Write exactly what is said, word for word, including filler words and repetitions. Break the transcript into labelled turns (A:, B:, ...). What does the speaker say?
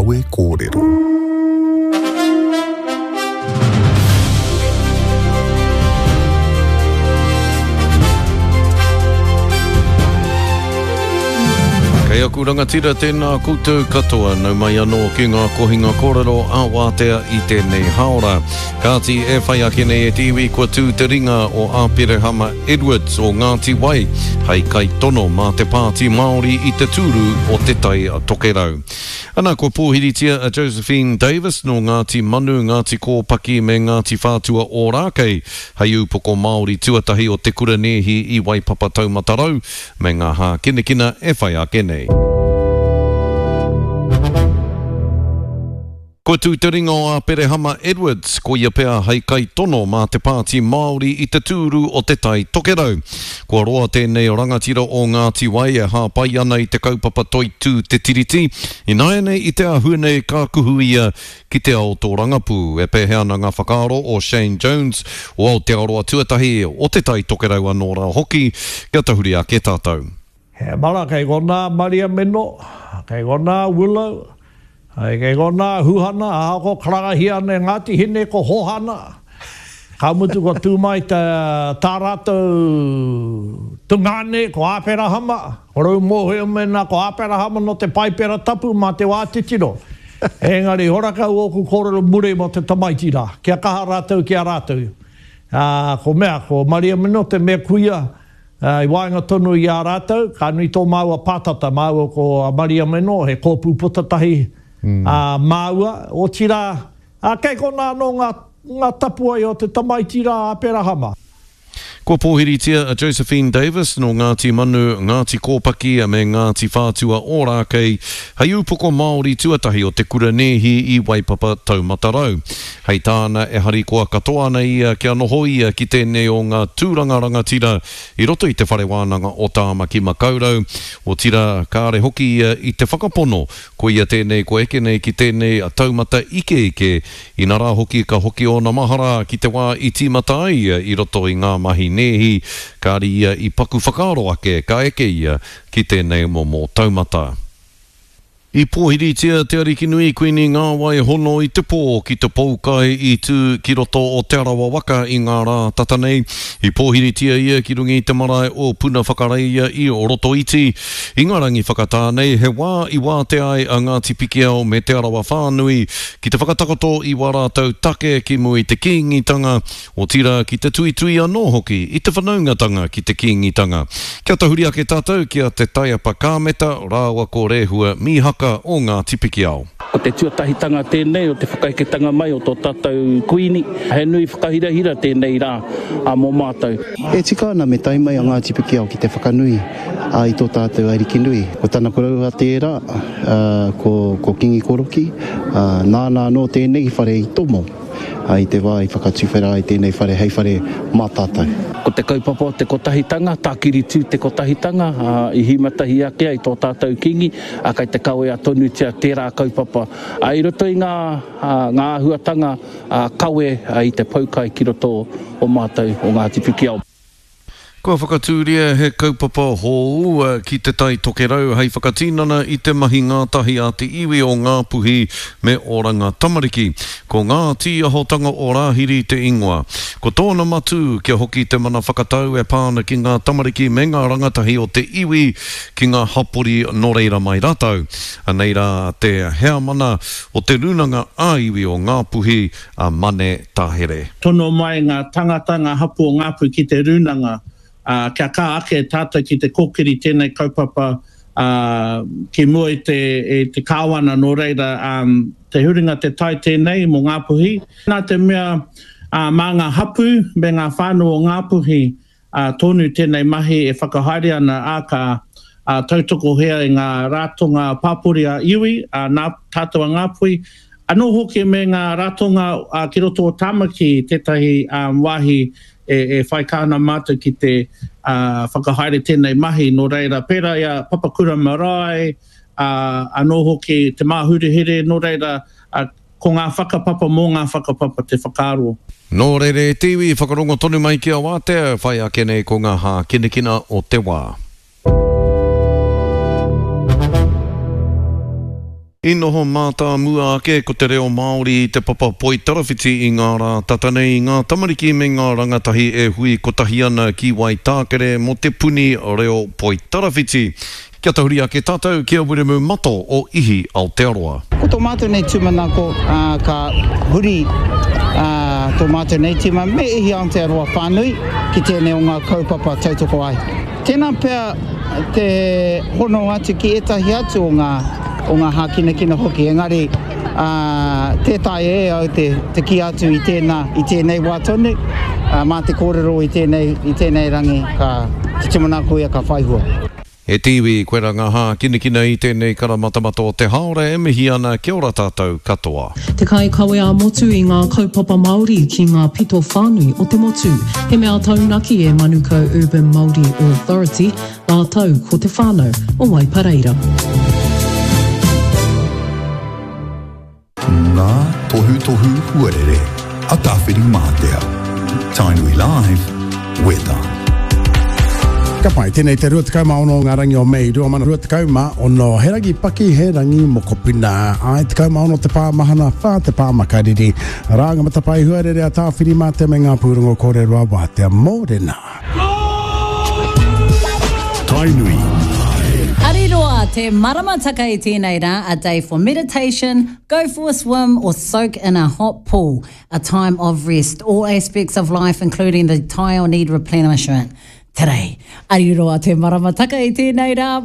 A: Kawe Kōrero.
B: Kei aku rangatira tēnā koutou katoa, nau mai anō ki ngā kohinga kōrero a Wātea i tēnei haora. Kāti e whai ake nei e te iwi kua tū te ringa o Āperehama Edwards o Ngāti Wai hei kaitono mā te Pāti Māori i te tūru o Te Tai Tokerau. Ana, kua pōhiritia a Josephine Davis nō Ngāti Manu, Ngāti Kōpaki me Ngāti Whātua Ōrākei hei ūpoko Māori tuatahi o te kura nēhi i Waipapa Taumata Rau me ngā hākinakina e whai ake nei. Kua tū te ringa o Āperehama Edwards, koia pea hei kaitono mā te Pāti Māori i te tūru o Te Tai Tokerau. Kua roa tēnei rangatira o Ngāti Wai e hāpai ana i te kaupapa toitū Te Tiriti. Ināianei i te āhua nei ka kuhu ia ki te ao tōrangapū. E pēhea ana ngā whakaaro o Shane Jones o Aotearoa Tuatahi o Te Tai Tokerau anō rā hoki, kia tahuri ake tātou.
C: He mara kei konā Maria Meno, kei konā Willow, kei konā Huhana, ahako karangahia ana e Ngāti Hine ko Hohana. Ka mutu ko tū mai tā rātou tungāne ko Āperahama, ko Rau Mōhio mēnā ko Āperahama nō te Paipera Tapu mā te wā titiro. Engari horakau ōku kōrero muri mō te tamaiti rā, kia kaha rātou ki a rātou. Ko mea, ko Maria Meno te mea kuia i waenga tonu i a rātou, ka nui tō māua pātata, māua ko Maria Meno, he kōpū putatahi māua, otirā, kei konā anō ngā tapuwae o te tamaiti rā Aperahama.
B: Kua pōhiritia a Josephine Davis nō Ngāti Manu, Ngāti Kōpaki me Ngāti Whātua Ōrākei hei ūpoko Māori tuatahi o te kura nēhi i Waipapa Taumata Rau. Hei tāna e harikoa katoa ana ia kia noho ia ki tēnei o ngā tūranga rangatira i roto i te whare wānanga o Tāmaki Makaurau, otirā kāre hoki ia i te whakapono koia tēnei kua eke nei ki tēnei taumata ikeike, inarā hoki ka hoki ōna mahara ki te wā i tīmata ai ia i roto i ngā mahi nēhi, kāre ia i paku whakaaro ake ka eke ia ki tēnei momo taumata. I pōhiritia te Arikinui Kuini Ngāwai Hono i te pō ki te poukai i tū ki roto o Te Arawa Waka i ngā rā tata nei. I pōhiritia ia ki runga i te marae o Puna Whakareia i Rotoiti. I ngā rangi whakatā nei, he wā i wātea ai a Ngāti Pikiao me Te Arawa whānui ki te whakatakoto i wā rātou take ki mua i te Kīngitanga, otirā ki te tuitui anō hoki i te whanaungatanga ki te Kīngitanga. Kia tahuri ake tātou ki a Te Taiapa Kāmeta rāua ko Rehua Mīhaka o Ngāti Pikiao.
D: Ko te tuatahitanga tēnei o te whakaeketanga mai o tō tātou kuini, he nui whakahirahira tēnei rā mō mātou.
E: E tika ana me tae mai a Ngāti Pikiao ki te whakanui i tō tātou Arikinui. Ko tana koroua tērā, ko, ko Kingi Koroki, nāna anō tēnei whare i tomo i te wā i whakatuwhera ai tēnei whare hei whare mā tātou.
D: Ko te kaupapa o te kotahitanga, tākiri tū te kotahitanga, i hīmatahi ake ai tō tātou Kingi, kai te kawea tonutia tērā kaupapa. I roto i ngā, ngā āhuatanga kawe i te poukai ki roto o mātou o Ngāti Pikiao.
B: Kua whakatūria he kaupapa hou ki Te Tai Tokerau hei whakatinana i te mahi ngātahi a te iwi o Ngāpuhi me Oranga Tamariki. Ko ngā tīahotanga o Rāhiri te ingoa. Ko tōna matū kia hoki te mana whakatau e pā ana ki ngā tamariki me ngā rangatahi o te iwi ki ngā hapori nō reira mai rātou. Anei rā te heamana o te rūnanga ā-iwi o Ngāpuhi a Mane Tahere.
F: Tono mai ngā tangata, ngā hapū o Ngāpuhi ki te rūnanga, kia kā ake tātou ki te kōkiri tēnei kaupapa ki mua i te, i te kāwana, nō reira te huringa te tai tēnei mō Ngāpuhi. Nā te mea mā ngā hapū me ngā whānau o Ngāpuhi tonu tēnei mahi e whakahaere ana, ā, ka tautokohea i ngā ratonga pāpori a iwi, nā tātou a Ngāpuhi, anō hoki me ngā ratonga ki roto o Tāmaki tētahi wāhi e, e whai kāna mātou ki te uh, whakahaere tēnei mahi, nō reira pērā i a Papakura Marae, uh, anō hoki te Māhurehere, nō reira uh, ko ngā whakapapa mō ngā whakapapa te whakaaro.
B: Nō reira e te iwi, whakarongo tonu mai ki a Wātea, whai ake nei ko ngā hākinakina o te wā. I noho mātāmua ake ko te reo Māori i te papa poitarawhiti i ngā rā tata nei i ngā tamariki me ngā rangatahi e hui kotahi ana ki Waitākere mō te puni reo poitarawhiti. Kia tahuri ake tātou ki a Wiremu Mato o Ihi Aotearoa.
A: Ko tō mātou nei tūmanako, ka huri tō mātou nei tīma me Ihi Aotearoa whānui ki tēnei o ngā kaupapa tautoko ai. Tēnā pea te hono atu ki ētahi atu o ngā, o ngā hākinakina hoki, engari, ā, tē taea e au te, te kī atu i tēnā, i tēnei wā tonu, ā, mā te kōrero i tēnei, i tēnei rangi ka, te tūmanako ia ka whai hua.
B: E te iwi, koira ngā hākinakina i tēnei karamatamata o te haora e mihi ana kia ora tātou katoa.
G: Te kaikawe ā-motu i ngā kaupapa Māori ki ngā pito whānui o te motu. He mea taunaki e Manukau Urban Māori Authority rātou ko te whānau o Waipareira.
H: Ngā tohutohu huarere a Tāwhirimātea. Tainui Live, Weather.
I: Ka pai, tēnei te rua tekau mā ono o ngā rangi o Mei rua mano rua tekau mā ono. He rangi paki, he rangi mokopuna. Āe, tekau mā ono te pā mahana, whā te pā makariri. Arā ngā matapae huarere a Tāwhirimātea me ngā pūrongo kōrero a Wātea Mōrena.
H: Tainui.
J: Ariroa te maramataka i tēnei rā, a day for meditation, go for a swim or soak in a hot pool, a time of rest. All aspects of life including the taiao need replenishment today. Ariroa te maramataka i tēnei rā.